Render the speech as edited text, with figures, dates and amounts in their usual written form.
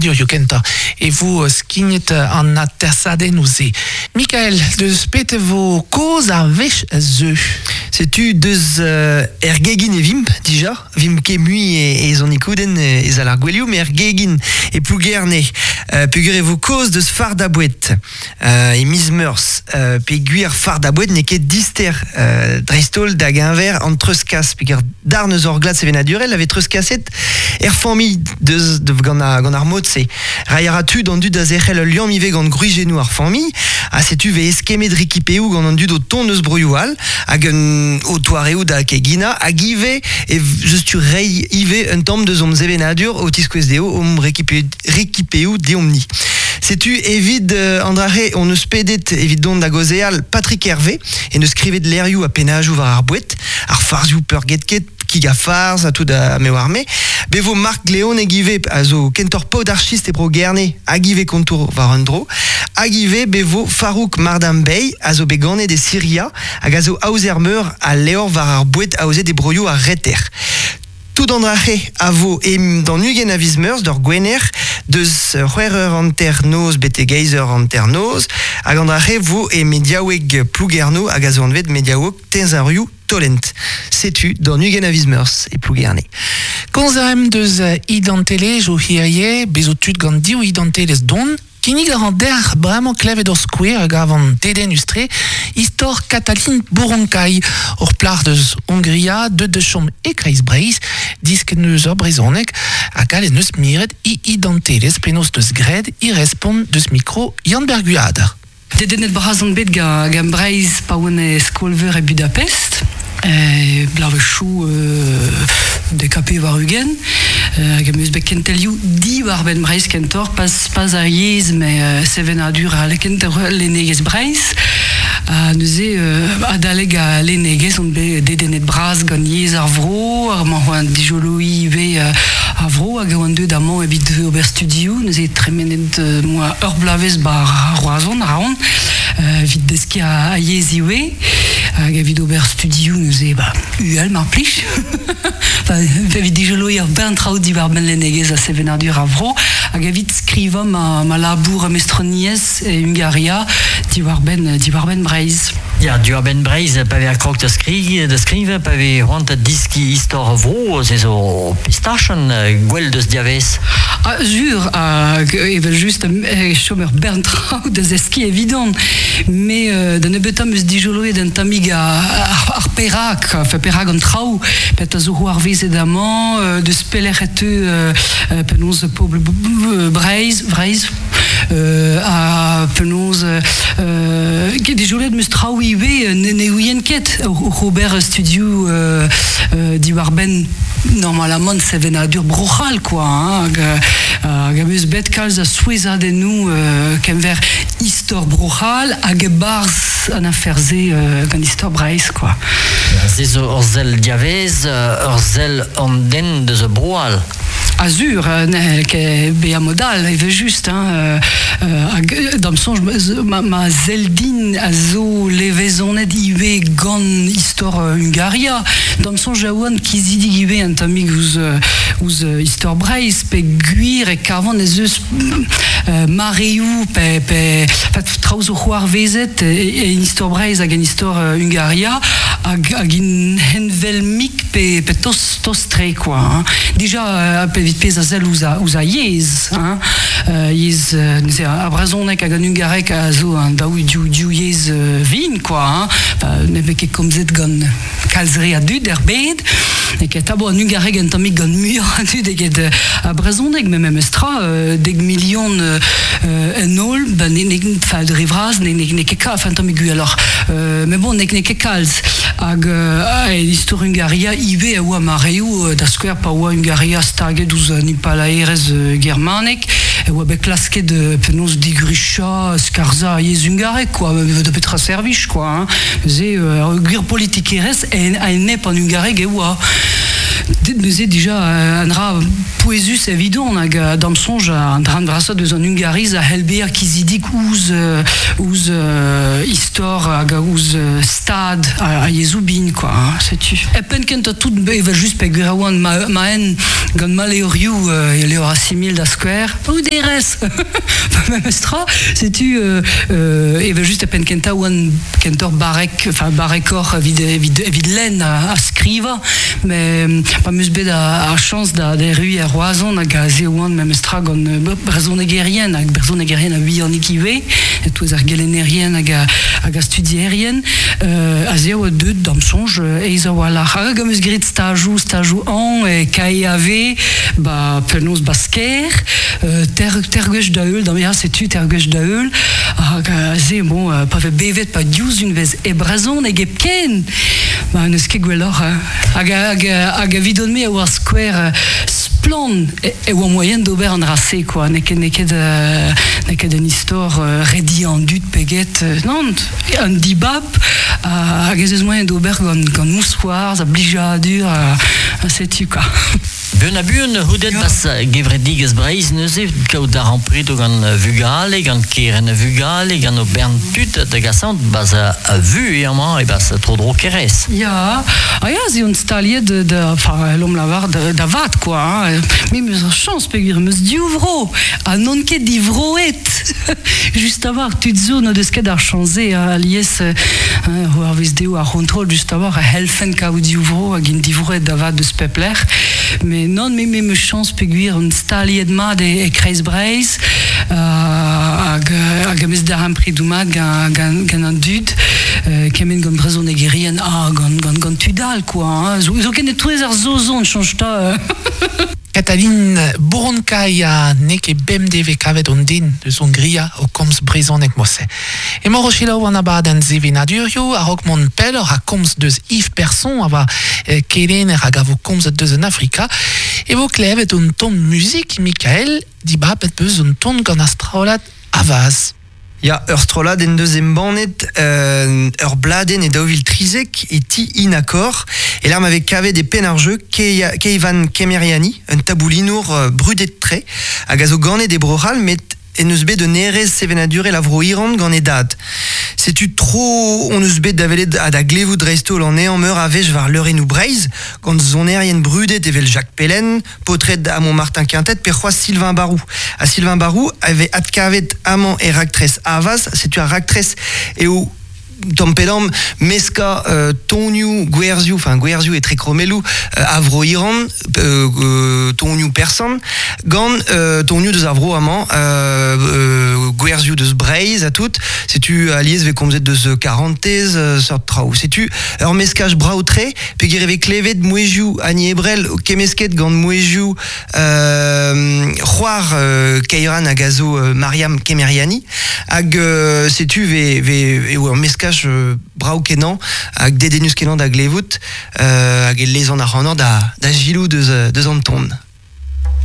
ensavadurioù kentañ e vo skignet an atersadennoù-se. Mikael, deus pet e vo kaoz ar wech a zeu? Setu deus er gegin e vimp dija, vimp ket mui e, e zonikoudenn e sal ar gouelioù, met er gegin e Plougerne, peogwir e vo kaoz deus fardañ boued. E miz Meurzh, peogwir fardañ boued n'eo ket dister, dreist-holl da geñver an treuzkas, peogwir darn eus hor glad sevenadurel a vez treuzkaset er familh deus gant gant ar mod-se. Reiñ a ra tu d'an dud da zerc'hel ul liamm ivez gant gwriziennoù ar familh, ha setu 'vez eskemmet rekipeoù gant an dud o tont eus broioù all, hag un o toareoù da keginañ, hag ivez e zeus tu reiñ ivez un tamm deus hom sevenadur o tiskouez dezho hom rekipeoù deomp-ni. Setu evit an dra-se hon eus pedet evit dont da gaozeal Patrick Hervé, en deus skrivet levrioù ha pennajoù war ar boued, ar farzioù peurgetket, kig ha farz ha tout a me oar-me. Be vo Marc Gleoneg ivez a zo kentoc'h paotr archist e bro Gerne hag ivez kontour war un dro. Hag ivez be vo Farouk Mardam-Bey a zo bet ganet e Siria hag a zo aozer meur a levr war ar boued aozet e broioù ar Reter. Tout an dra-se a vo e d'an 20 a viz Meurzh d'ur Gwener deus c'hwec'h eur hanternoz betek eizh eur hanternoz hag an dra-se vo e mediaoueg Plougerno hag a zo anvet mediaoueg Teñzorioù Tolent. Setu d'an 20 a viz Meurzh e Plougerne. Komz a raimp deus identelezhioù hirie, bez zo tud gant div identelezh don. Kinnig a ran deoc'h bremañ klevet ur skouer a gavan dedennus-tre, istor Katalin Boronkai, ur plac'h deus Hongria deuet da chom e Kreiz-Breizh, disket neus ur brezhoneg ha gallet neus miret e identelezh penaos deus graet e respont deus mikro Yann-Ber Guader. Dedennet bras on bet gant Breizh pa oan e skol-veur e Budapest, e bloavezhioù DKP war-ugent, hag em eus bet kentelioù diwar-benn Breizh kentoc'h, pas, pas ar yezh, met sevenadur ha kentoc'h lennegezh Breizh. Ha neuze, adalek al lennegezh on bet dedennet bras gant yezh ar vro, ar mañ c'hoant dijoloiñ ivez ar vro hag e oan deuet amañ evit ober studioù, neuze tremenet 'moa ur bloavezh 'ba Roazhon, Raon, evit deskiñ ar yezh ivez, hag evit ober studioù neuze ba uhel mar plij, evit dijoloiñ ur bern traoù diwar-benn lennegezh ha sevenadur ar vro, hag evit skrivañ ma, ma labour mestroniezh e Hungaria diwar-benn diwar-benn Breizh. Ya, diwar-benn Breizh, pa vez krog da skrivañ, da skrivañ, pa vez c'hoant da diskiñ istor ar vro, se zo pistachenn gwell deus diavez. Ah, sur, hag evel-just e chom ur bern traoù da zeskiñ evidon, met da nebeutañ 'm eus dijoloet un tammig ar perak, enfin perak an traoù, petra zo c'hoarvezet amañ, deus pelec'h e teu penaos pobl Breizh, Breizh, ha penaos dijoloet 'm eus traoù ivez ne ouien ket oc'h ober studioù diwar-benn normalamant sevenadur Bro-C'hall quoi hein, hag, hag am eus bet kalz a souezhadennoù kenver istor Bro-C'hall hag e-barzh an afer-se gant istor Breizh quoi. Se zo ur sell diavaez, ur sell an den deus Bro-C'hall. Azur, n'hell ket bezañ mod all evel-just hein, hag d'am soñj ma, ma sell din a zo levezonet ivez gant istor Hungaria. D'am soñj a oan kizidik ivez un tammig ouzh, ouzh istor Breizh peogwir e kavan ez eus mareoù pe, pe traoù zo c'hoarvezet e, en istor Breizh hag en istor Hungaria hag, hag int heñvel-mik pe, pe tost tost-tre quoi hein. Dija evit pezh a sell ouzh ouzh ar yezh hein, yezh neuze ar brezhoneg hag an hungareg a zo an daou div div yezh vin quoi hein. Ne vez ket komzet gant kalz re a dud er bed. N'eo ket tabou an hungareg un tammig gant muioc'h a dud eget ar brezhoneg, met memes tra dek milion en holl, ba ne, ne, enfin, dre vras ne, ne, n'eo ket kalz, enfin un tammig gwelloc'h. Mais bon, n'eo ket kalz. Hag istor Hungaria ivez a oa mareoù, da skouer pa oa Hungaria staget ouzh an impalaerezh germanek, e oa bet klasket penaos digrichañ, skarzhañ ar yezh hungarek kwa, da petra servij kwa hein. Neuze ur gwir politikerezh a-enep an hungareg e oa. Neuze dija an dra pouezus evidon hag dam sonj an dra brasat deus an Hungariz a helber kizidik ouz istor hag ouz stad a yezou bin, quoi, hein, setu. E pen kent a tout evel just pe gwir a oan ma en gant ma levrioù levr Assimil da skouer, bruderezh memestra, setu evel just e pen kentañ oan kentoc'h barrek, enfin barrekoc'h evit lenn ha skrivañ, met pa 'm eus bet ar chañs da erruiñ er Roazhon hag aze oan memestra gant brezhonegerien hag brezhonegerien a-vihanik ivez, e-touez ar gelennerien hag ar studierien, aze e oa deuet d'am soñj aes a-walc'h. Hag am eus graet stajoù hañv e KEAV, ba penaos ba Skaer, ter gwech da heul, d'am ya setu ter gwech da heul, hag aze bon, pa vez bevet pa diouzh unvez e brezhoneg hepken, ba n'eus ket gwelloc'h, hein. Hag evidon-me e oa skouer splann e oa moaien d'ober an dra-se, quoi. N'eo ket un istor rediañ an dud pe get, nann, un dibab hag ez eus moaien d'ober gant mousc'hoarzh ha blijadur ha setu, quoi. Buan ha buan c'houdet bas gevredigezh Breizh neuze kaout darempredoù gant vugale, gant kerent a vugale, gant o bern tud da gasañ bas a vu eo amañ e bas tro-dro Kerez. Ya, ah ya, ze on staliet da, enfin, l'om lavar da vat, quoi, hein. Me 'm eus ur chañs peogwir 'm eus div vro ha n'on ket divroet. Just a-walc'h, tud zo n'o deus ket ar chañs-se, hein, alies c'hoarvez dezho ar c'hontrol just a-walc'h a c'hellfent kaout div vro hag int divroet da vat deus pep lec'h. Mais non, me 'm eus chañs peogwir on staliet mat e kreiz Breizh hag am eus darempredoù mat gant an dud, kement gant brezhonegerien ha gant tud all, quoi, hein. Zoken e-touez ar Saozon, soñj 'ta. Katalin Bouronkai a n'eo ket bemdez 'vez kavet hon den deus Hongria o komz brezhoneg mod-se. Emañ o selaou an abadenn sevenadurioù a-raok mont pelloc'h ha komz deus Yves Person a oa kelenner hag a vo komzet deus an Afrika e vo klevet un ton muzik Mikael dibabet 'peus un ton gant ar strollad Avaz. Ya, ur strollad en deus embannet ur bladenn e 2013 e ti Inacor, e lec'h ma vez kavet e penn ar jeu Keivan Kemeriani, un taboulinour brudet-tre, hag a zo ganet e Bro-C'hall met en deus bet un hêrezh sevenadurel a Vro-Iran gant e dad. Setu tro hon eus bet da welet ha da glevout dreist-holl anezhañ meur a wech war leurennoù Breizh, gant sonerien brudet evel Jacques Pellen, paotred amañ Martin Quintet pe c'hoazh Sylvain Barou. Ha Sylvain Barou a vez adkavet amañ e raktres Avaz. Setu ar raktres eo tamm pe damm meskañ tonioù gwerzioù, enfin gwerzioù etre krommelloù a vro Iran, tonioù persan, gant tonioù deus ar vro amañ, gwerzioù deus Breizh ha tout. Setu alies 'vez komzet deus karantez, seurt traoù. Setu ur meskaj brav-tre Peogwir e vez klevet mouezhioù Annie Ebrel kemmesket gant mouezhioù c'hoar Keiran hag a zo Mariam Kemeriani hag setu ve, ve, eo ur meskaj brav-kenañ hag dedennus-kenañ da glevout hag e lezan ac'hanoc'h da, da giloù deus, deus an ton.